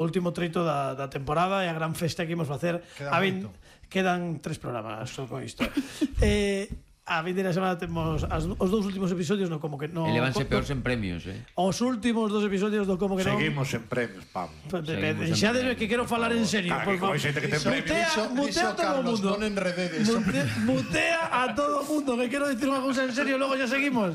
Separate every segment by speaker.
Speaker 1: último treito da temporada e a gran festa que imos facer. Quedan 3 programas só con isto. A vindeira semana temos os 2 últimos episodios no Como que non.
Speaker 2: Elevanse peores en premios,
Speaker 1: Os últimos 2 episodios do Como que non.
Speaker 3: Seguimos en premios, Pablo.
Speaker 1: Xa desde que quero falar en serio, por favor. Mutea a todo o mundo. Mutea a todo o mundo, que quero dicir unha cousa en serio, logo xa seguimos.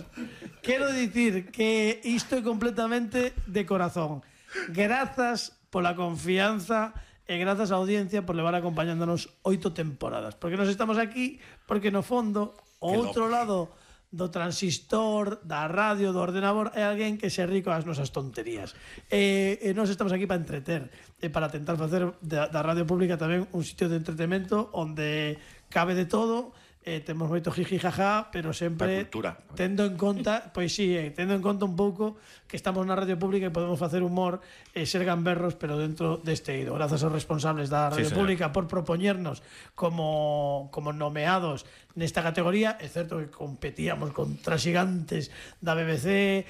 Speaker 1: Quero dicir que isto é completamente de corazón. Grazas pola confianza e grazas á audiencia por levar acompañándonos 8 temporadas. Porque nos estamos aquí, porque no fondo, o outro lado do transistor, da radio, do ordenador, é alguén que se rico ás nosas tonterías. E nós estamos aquí para entreter, e para tentar facer da radio pública tamén un sitio de entretenimento onde cabe de todo. Temos moito jiji jaja, pero sempre tendo en conta, pois si, tendo en conta un pouco que estamos na radio pública e podemos facer humor e ser gamberros, pero dentro deste eido. Grazas aos responsables da radio pública por propoñernos como nomeados nesta categoría. É certo que competíamos contra xigantes da BBC,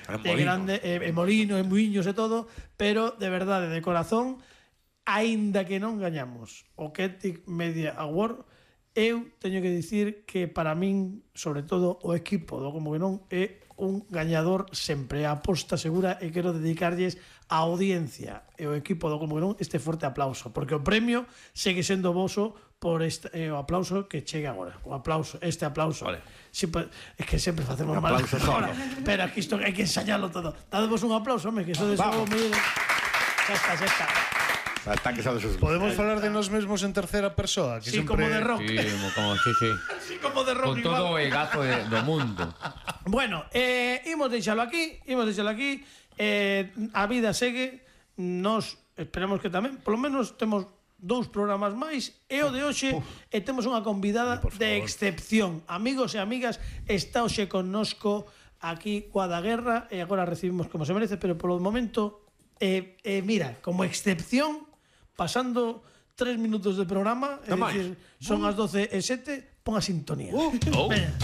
Speaker 1: Molino, Muiños e todo, pero de verdade, de corazón, aínda que non gañamos o Celtic Media Award, eu teño que dicir que para min, sobre todo o equipo do Como que non, é un gañador sempre, a aposta segura, e quero dedicarlles a audiencia e o equipo do Como que non este forte aplauso, porque o premio segue sendo voso por o aplauso que chega agora. O aplauso, este aplauso. Vale. Es que sempre facemos mal agora, pero aquí isto hai que ensayarlo todo. Dademos un aplauso, home, que iso de xogo xa está.
Speaker 4: Podemos falar de nós mesmos en terceira persoa, que
Speaker 1: sí,
Speaker 4: sempre...
Speaker 1: como de rock.
Speaker 2: Sí.
Speaker 1: Así como de rock.
Speaker 2: Con todo o egazo do mundo.
Speaker 1: Bueno, imos deixalo aquí. A vida segue. Nos esperamos que tamén, polo menos temos 2 programas máis, e o de hoxe temos unha convidada de excepción. Amigos e amigas, está hoxe connosco aquí coa da Guerra, e agora recibimos como se merece, pero polo momento mira, como excepción, pasando 3 minutos de programa, é dicir, son as 12:07, pon a sintonía.
Speaker 2: Venga.